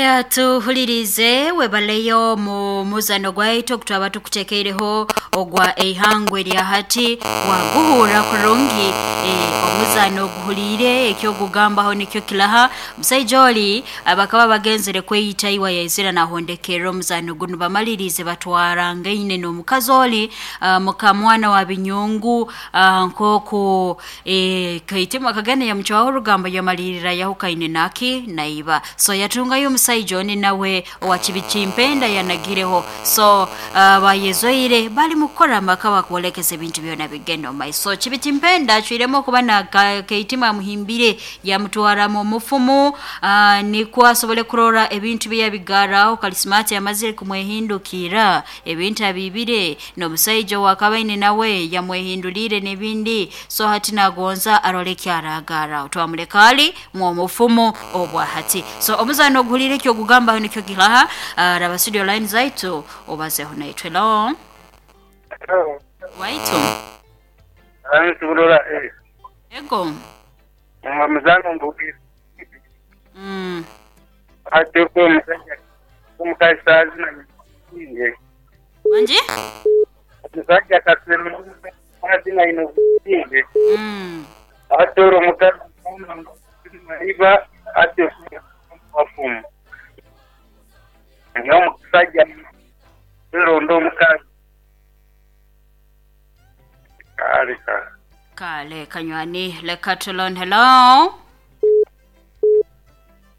Oya tuhulirize webaleyo mu muzano gwaitu ogutwaba tukutekeireho ogwa eihangwe erya hati waguhurra kurungi omuzano oguhuliire ekyogugambaho nikyo kilaha. Omusaija oli bakaba bagenzere kweyita iwe yaizire nahondekerra omuzano gunu bamaliriize batwarangaine n'omukazi oli mukamwana wa Binyungu nk'oku Kaitima akagenda yamucwaho orugambo yamalirra yahukaine naki naiba. So yatungayo omusaija oni nawe owa Kibikimpenda yanagireho. So bayezoire bali mukukora amaka bakwolekeza ebintu byona bigenda omu maiso. So Kibikimpenda acwiremu okuba na Kaitima amuhimbire yamutwaramu omufumu nikwo asobole kurora ebintu bye yabigarraho. Kalisimati amazire kumwehindukirra ebintu abiibire n'omusaija ow'akaba aine nawe yamwehinduliire n'ebindi. So hati nagonza arole eki aragarraho. Twamuleka ali mw'omufumu obwa hati. So omuzaano oguhuliire eki ogugambaho nikyo kihaha, raba studio line zaitu obazeho naitwe. Hello. Hello. Waitu. Nsuburura eh. Ego. Omuzano mbugi. Ate ko omusajja omukazi sazina nge. Wangi? Omusajja kasero azina ino nge. Ate olwo omukazi iba ate wafumu. Naye omusajja eronda omukazi. Kale kale. Kale kanywani leka tulon hello.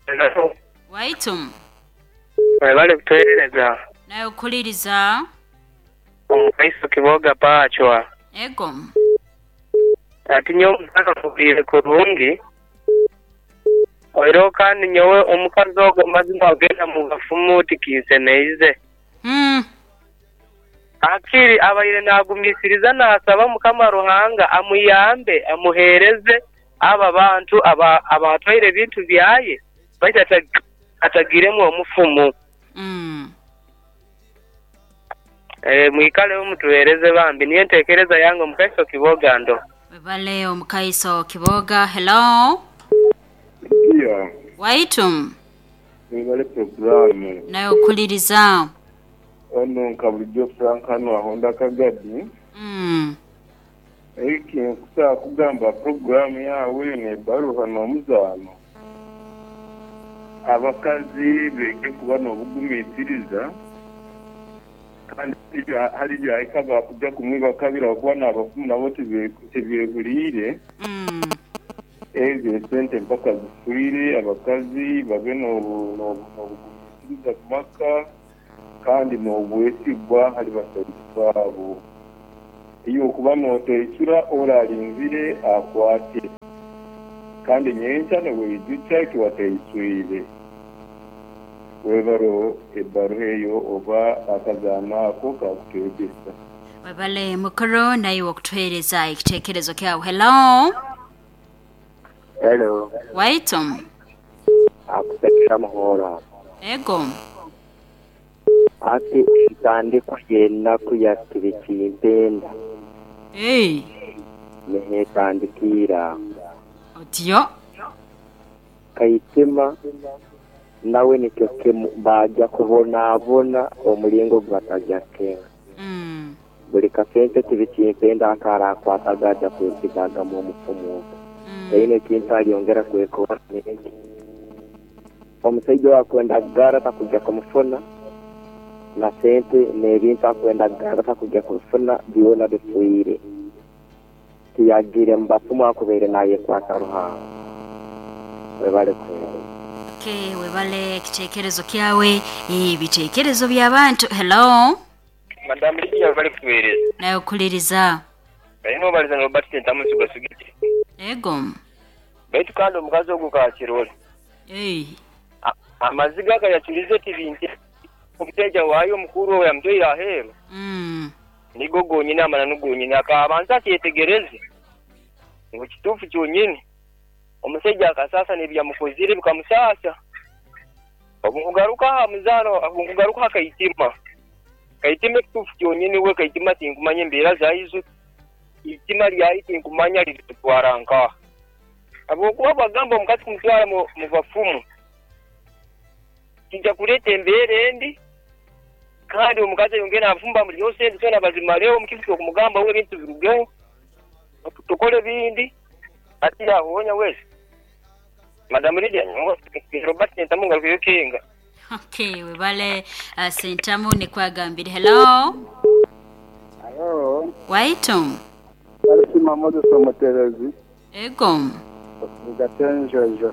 Hello. Waitu. Webale kutuweereza. Nawe okukuliriza. Omukaiso Kiboga Pachwa. Ego. Ati nyowe omukazi amuhuriire kurungi, oihireho kandi nyowe omukazi ogwo amazima agenda mu bafumu tikinsemeize. Hakiri abaire naagumisiriza naasaba Mukama Ruhanga amuyambe amuheereze abo abantu abaatwaire ebintu byaye baitu atagiiremu omufumu. Mwikaleho mutuweereze bambi niyo entekereza yange Omukaiso Kiboga ndo. Webale Omukaiso Kiboga. Hello. Lydia. Waitu. Webale puroguramu. Nawe okuliriza. Ono nka bulijo Frank hano ahonda Kagadi. Ekinkusobola kugamba aha puroguramu yaawe eno ebaruha n'omuzaano, abakazi beege kuba n'obugumisiriza kandi hariyo ebyahika baakuja kumwiba kabiri ahabw'okuba n'abafumu nabo tibeehuriire. Ezo esente mpaka zifiire, abakazi babe n'obugumisiriza omu maka kandi n'obwesigwa ahari basaija baabo. Iwe okuba nooteicura ore arinzire akwate, kandi nyenkya noweijukya eki wateicwire. Webare ebaruha eyo oba akazaano ako kaakutwegyesa. Webale mukuru naiwe okutuhereza ekitekerezo kyawe. Hello. Hello. Waitu. Akusekera muhora. Ego. Ati entandikwa y'enaku ya Kibikimpenda Hey. n'ehetandikiire agho. Otyo. Kaitima nawe nikyo kimu baaja kubonaabona omulingo gwe bataja kukenga. Buli kasente Kibikimpenda ak'araakwataga aja kwesigaagamu omufumu ogwo. Taine ekintu alyongera kwekora n'eki. Omusaija oyo akwenda kugara takuja kumufuna, na sente n'ebintu akwenda kugara takuja kubifuna, byona bifiire. Tiyagiire mu bafumu akubaire naayekwata Ruhanga. Webale kuheereza. Okay, webale ekitekerezo kyawe. Ebitekerezo by'abantu. Hello. Madam Lydia webale kutuwereza. Nawe okuliriza. Aye nobaliza ni Robert Sentamu Nsuga Sugiti. Ego. Baitu kandi omukazi ogwo kakirole. Ei. Amaziga agayacurize ti bintu omusaija waayo omukuru owo yamutwaire aheeru. Nigo gonyini amananu gonyini. Akabanza akyetegereze ngu kituufu kyonyini omusaija akasaasa n'ebiyamukozire bikamusaasa. Obu nkugaruka aha muzaano, obu nkugaruka aha Kaitima, Kaitima ekituufu kyonyini we Kaitima tinkumanya embeera zaizo, eitima ryaye tinkumanya ririmutwara nkaha. Habw'okuba bwagamba omukazi kumutwara mu bafumu. Kija kureeta embeera embi kandi omukazi ayongere afumbe amuryeho sente zoona bazimareho mukifo ky'okumugamba we ebintu birugeho tukore ebindi hati yahonya wesi. Madam Lydia nyowe Robert Sentamu ngarukeyo Kenga. Okay, webale Sentamu nikwo agambire. Hello. Hello. Waitu. Nalisiima Moses Omuteebezi. Ego. Okuruga Kyenjojo.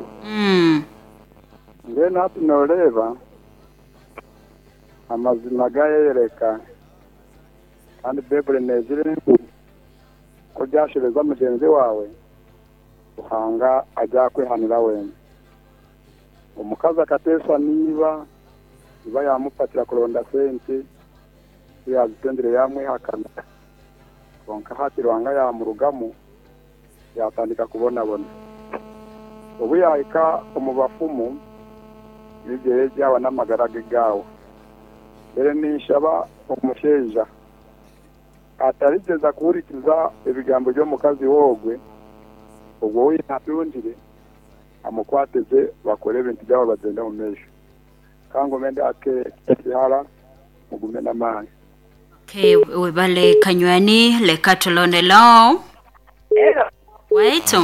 Mbwenu hati nooreeba amazima gaayeyoreka kandi Baiburi neegira ngu ku oryashobeza mugyenzi waawe, Ruhanga aryakwehanira weena. Omukazi akateesa na iba, iba yaamupakira kuronda sente, ku yaazitungire yaamwehakana. Kwonka hati Ruhanga yaamurugamu, yaatandika kubonabona. Obu yaahika omu bafumu, ebigyere byawa n'amagara ge gaawa. Mbwenu ninshaba omushaija atarigyeza kuhurikiza ebigambo by'omukazi we ogwe, ogwo ou yaatungire amukwate gye bakore ebintu byabo bagyende omu maisho. Ka ngume ndi ake ekihara, mugume n'amaani. Okay, webale kanywani leka tulonde lo. Hello. Waitu.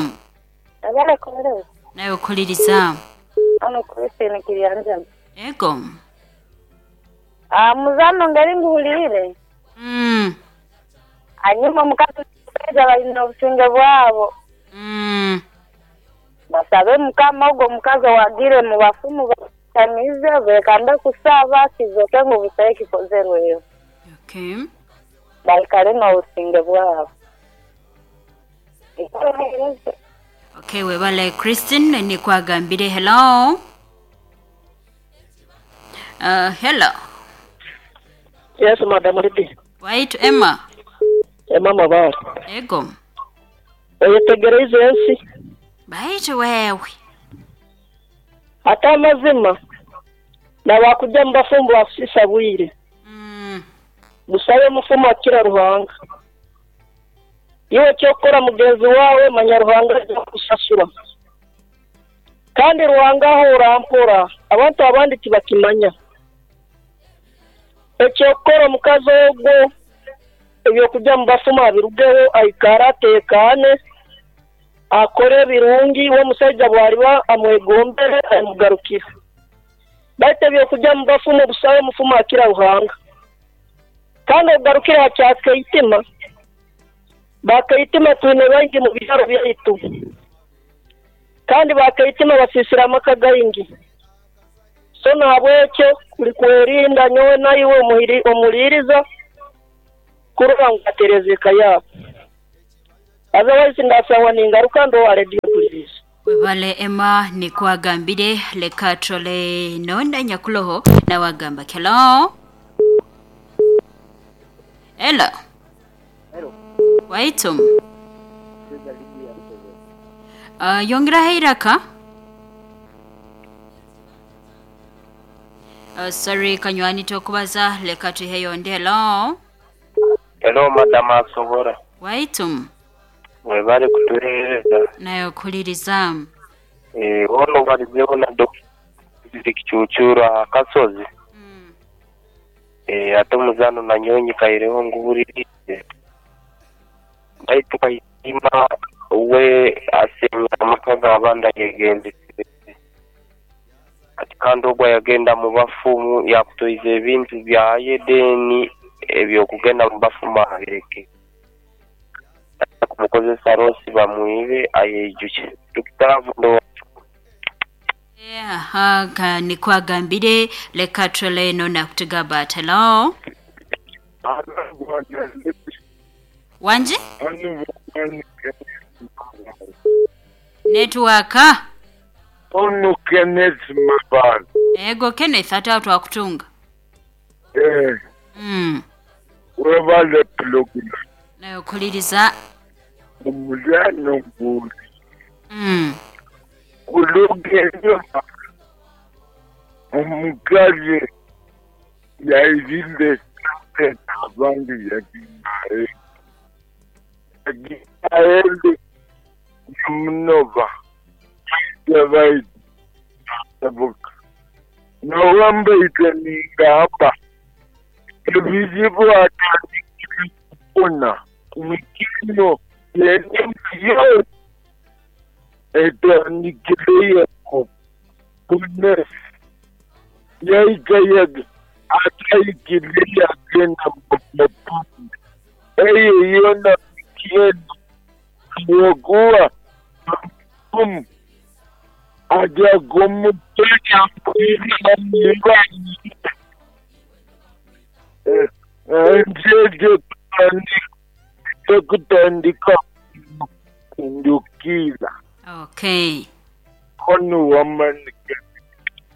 Webale kuhurira. Nawe kuhuririza. Hano Christine Kiryanjama. Ego. Ah, muzano ngeri nguhuriire. Hanyuma omukazi n'omusaija baine obusinge bwabo. Basabe Mukama ogwo omukazi owagiire mu bafumu bamushamize bekambe kusaba kizoke ngu busaho ekikozerweho. Okay. Baikare n'obusinge bwabo. Ikara oheereze. Okay, webale Christine nikwo agambire. Hello. Hello. Yes, Madam Lydia. Waitu Emma. Emma Mabare. Ego. Oyetegereize ensi. Baitu wewe. Ate amazima na baakugya omu bafumu baakusiisa bwire. Busayo omufumu akira Ruhanga. Iwe eky'okukora mugenzi waawe manya Ruhanga aija kukusasura. Kandi Ruhanga ahoora mpora, abantu abandi tibakimanya. Eky'okukora omukazi ogwo eby'okugya omu bafumu abirugeho aikare ateekaane, akore ebirungi, we omusaija bw'ariba amwegombere amugarukire. Baitu eby'okugya omu bafumu busaho omufumu akira Ruhanga. Kandi ogarukire aha kya Keitima, ba Keitima twine baingi mu byaro byaitu. Kandi ba Keitima basiisire amaka gaingi. So nahabwekyo kuri kwerinda nyowe naiwe omuhuriiriza kurora ngu watereeza eka yaawe. Otherwise ndasangwa ningaruka ndi owa rediyo mpuliriize. Webale Emma nikwo agambire leka turole nonda nyakuloho nawe agamba ki. Hello. Hello. Hello. Waitu. Yongeraho eiraka. Sorry kanywani tokubaza leka tuiheyo ondi. Hello. Hello madam Asobora. Waitu. Webale kutuhereza. Nawe okuhuliriza. Eeh hoona obarizeho na Dokita Kicuucuuru aha kasozi. Eeh ate omuzaano nanyowe nyikaireho nguhuririize. Baitu Kayima we aseenya amaka g'abandi ayegendesereize. Ati kandi ogu ayagenda mu bafumu yaakutoize ebintu byaye then eby'okugenda mu bafumu abireke. Baija kumukozesa losi bamwibe ayeijukye. Dokita Avundo. Aha ka nikwo agambire leka turole eno nakutugamba ati hello. Wangi? Netiwaaka. Onu Kenneth Mabala. Ego Kenneth ate awo twakutunga. Eh. Webale pulogulamu. Nawe okuliriza. Omulwana guli. Kuluga enyuma omukazi yaizire sente abandi yagihayo. Yagihayo yamunoba yaija baija. Nyowe mbaire ningamba ebizibu atandikire kufuna mikino yona etandikire kufuna yaika atahikire yagenda mu eyo yona mikino habwokuba omufumu aja kumutega nje kutandika kundukira. Okay. Kono wamanika.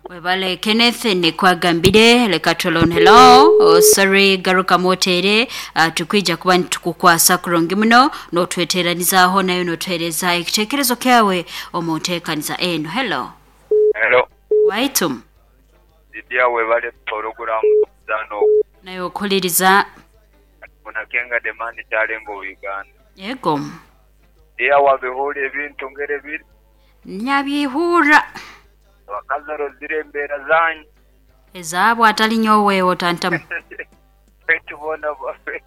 Webale Kenneth nikwagambire leka tulon hello. Oh, sorry garuka motere tukwija kuba nitukukwasa kurungi muno notweteranizaho nayo notwereza ekitekerezo kyawe omunteekaniza eno. Hello. Hello. Waitum. Lydia webale program zano. Nayo okuliriza. Munakenga demand kyalenga Uganda. Yego. Dia wabihura ebintu ngere biri. Nyabihura. Abakazi orozire embeera zanyu. Ezaabo atali nyowe otantamu. Tubona baffe.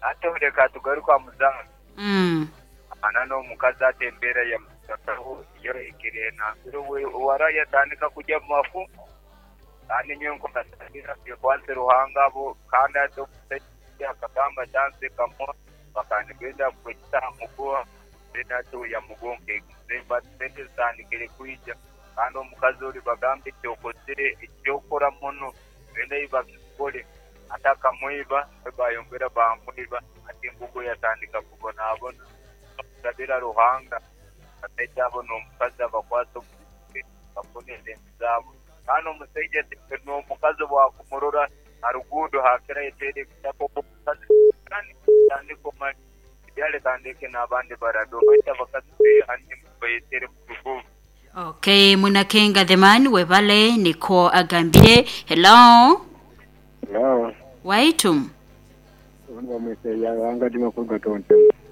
Ate oleka tugaruka muzaano. Ana n'omukazi ate embeera yamutakaho yo ekire nambiro wara yatandika kujya mu mafu. Kandi nyowe nkokatangira kwanse Ruhanga abo kandi ate omusajja akagamba chanse kamo bakandibenda kwekita muguha ate yamugonke sente zitandikire kwija. Kandi omukazi ori bagambe ekyokozire ekyokora muno benda ibakikole ate akamwiba bayongera bamwiba ate engugo yatandika kubonabona kusabira Ruhanga asaija abo n'omukazi abakwasa bafune esente zaabo. Kandi omusaija n'omukazi bwakumurora aruguudo hakira yetere ekitabo omukazi kandi tandika omali byale tandike n'abandi barabe obaita abakazi behanye bayetere mu ruguudo. Okay, Munakenga the man webale niko agambire. Hello. Hello. Waitum.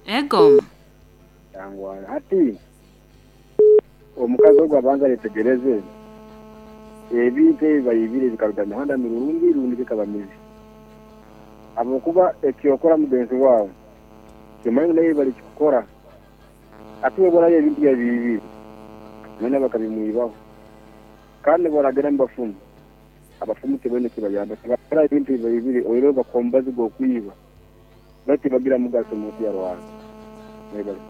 Ego. Yangwa ati omukazi ogwo abanza yetegereze ebintu ebi bayibire bikaruga mihanda mirungi rundi bikaba mibi. Ahabwokuba ekyokora mugenzi waawe kimanyi naye bari kukora ati webona ebintu byabibire none bakabimwibaho kandi baragera mu bafumu abafumu tebone kibayamba bakora ebintu bibiri oiro bakombazi gokwiba bati bagira mugaso mu ya Rwanda. Webale.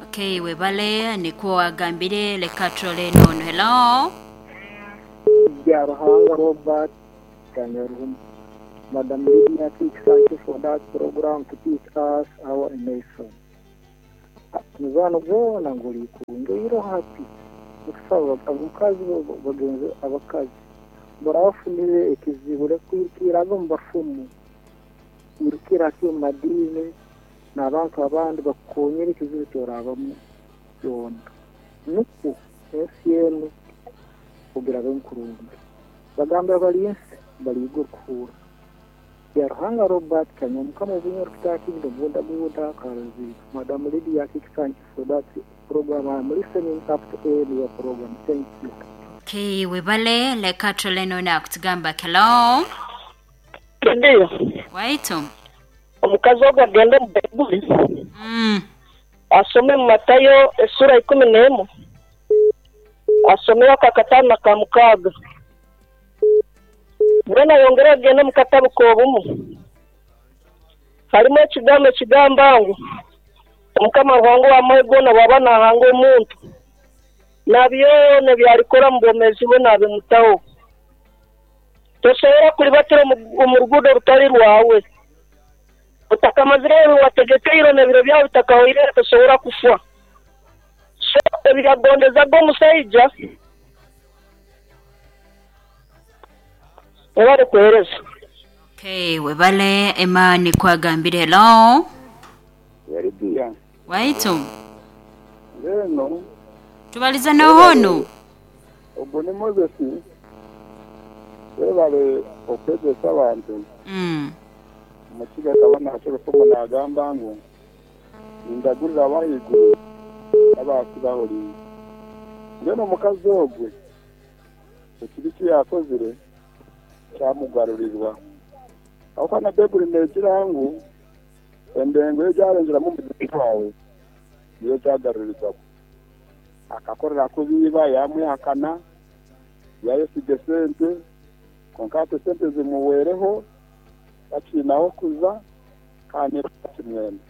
Okay, webale niko agambire leka trole nono. Hello. Ya Ruhanga Robert Kanyaruhum. Madam Lydia, thank you for that program to teach us our nation. Muzano gona nguli kunge iro happy. Okusaba abakazi bagenzi abakazi barafunire ekizibu kwirukira mu bafumu wirukira mu madini n'abantu abandi bakonyera ekizibu kyorabamu yona nuku ensi enu kugira benkurungi bagamba bali ensi bali kuhura. Ya Ruhanga Robert Kanyamukama obunyo kitakinda boda boda kazi. Madam Lydia, thank you for that program. I'm listening up to your program. Thank you. Okay, webale leka troleno na kutugamba hello. Ndiyo. Waitu. Omukazi ogwo agende mu Baibuli. Asome mu Matayo esura 11. Asome akakatano na ka6. Mbona yongera agende mu katabu k'obumu. Harimu ekigambo ekigamba ngu Omukama Ruhanga w'amahe goona bwaba nahanga omuntu na byona ebyarikora mu bwomeezi bwe nabimutaho. Tosobola kulibatira omu ruguudo rutari rwawe. Otakamazire ebi wategekeire n'ebiro byawe bitakahoire tosobola kufa. So ebyagondezaga omusaija webale kuhereza. Okay, webale Emma nikwagambire. Hello. Yaridia. Waitu. Leno. Tubaliza nohono. Ogwo ni Moses. Webale okwegesa abantu. Omukiga kabona akyolufumu n'agamba ngu ndagurira abahaiguru n'abaasi bahuriire. Mbwenu omukazi ogwe Ekibi ki yakozire kyamugarurirwa. Ahabw'okuba na Baibuli neegira ngu endengo ei ogyarengyeramu mugyenzi waawe niyo ogyagarurirwamu. Akakorera kubi iba, yaamwehakana, yaayesiga esente, kwonka hati esente zimuhweireho, takiine ah'okuza kandi naiba takimwenda.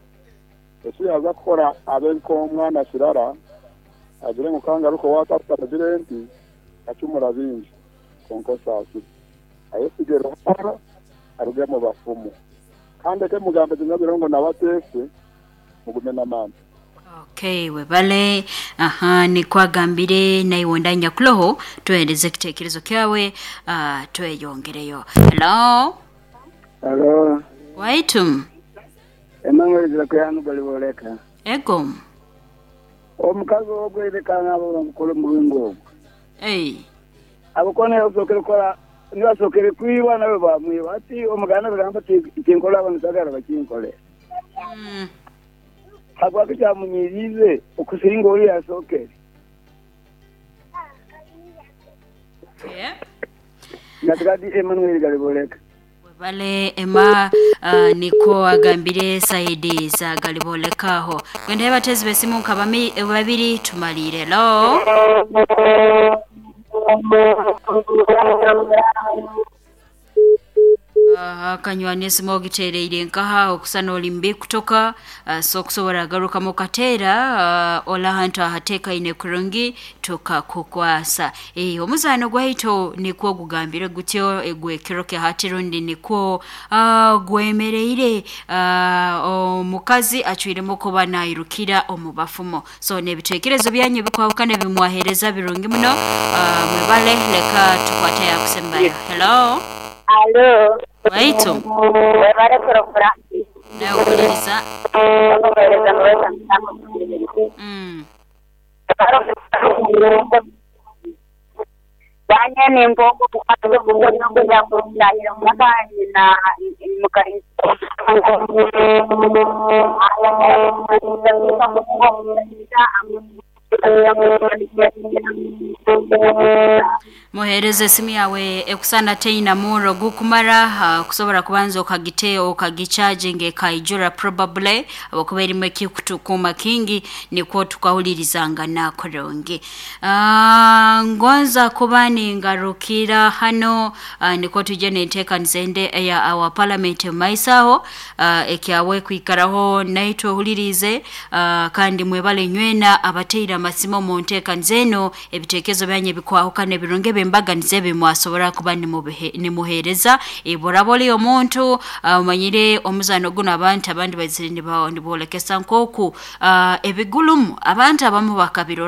Eki yaaza kukora abe nk'omwana kirara, agire ngu ka ngaruke owa taata mugire nti, Nkacumura bingi, kwonka osaasire. Ayesige Ruhanga, aruge omu bafumu. Kandi eke mugambe gye nyabire ngu nawe ateese, mugume n'amaani. Okay, webale. Aha, nikwo agambire naiwe onda nyakuloho, tuhereze ekitekerezo kyawe, tweyongereyo. Hello? Halo. Waitu. Emmanuel Zirakwihanu Galiboleka. Ego. Omukazi ogwo leka nabo bamukole omuringo ogwo. Ei. Ahabw'okuba niwe yasookere kukora, niwe yasookere kwiba nawe baamwiba. Hati Omuganda akagamba ati, Ekinkora aba nitagara bakinkore. Habwaki kyamunyiiriize okusinga oriya yasookere? Okay. Natigadi Emmanuel Galiboleka. Webale Emma nikwo agambire saidi za Galiboleka aho. Gwendayo abateezi b'esimu nka babiri tumaliire. Hello? Akanywani esimu ogiteereire nkaha okusa n'oli mubi kutoka so okusobora garukamu okateera ori ahantu ahateekaine kurungi tukakukwasa. Omuzaano gwaitu nikwo gugambire gutyo gw'ekiro kya hati rundi nikwo gwemereire omukazi acwiremu kuba nairukira omu bafumo. So n'ebitekerezo byanyu ebikwahukana ebi mwaheereza birungi muno. Mwebale leka tukwate yakusembayo. Hello? Alo. Waitu. Webale puroguramu. Nawe ohuliriza. Okuheereza muweza musango. Banya nimpa omukazi ogu yakuntahira omuka nyina Muheereze esimu yawe ekusana teina murro gukumara kusobora kubanza okagite okagichaginga ekaijura probably habwokuba erimu ekikutukuuma kingi nikwo tukahulirizangana kurungi. Ngonza kuba ningarukira hano nikwo twije n'enteekaniza endi eya our parliament omu maiso aho ekyawe kwikaraho naitwe ohuliriize kandi mwebale inywena abataire amasimu omu nteekaniza enu ebiteekerezo byanyu ebikwahukana ebirungi eby'embaganiza ebi mwasobora kuba nimuheereza. Obu oraaba oli omuntu omanyire omuzaano gunu abantu abandi baizire niboolekesa nk'oku ebigulumu abantu abamu bakabirora.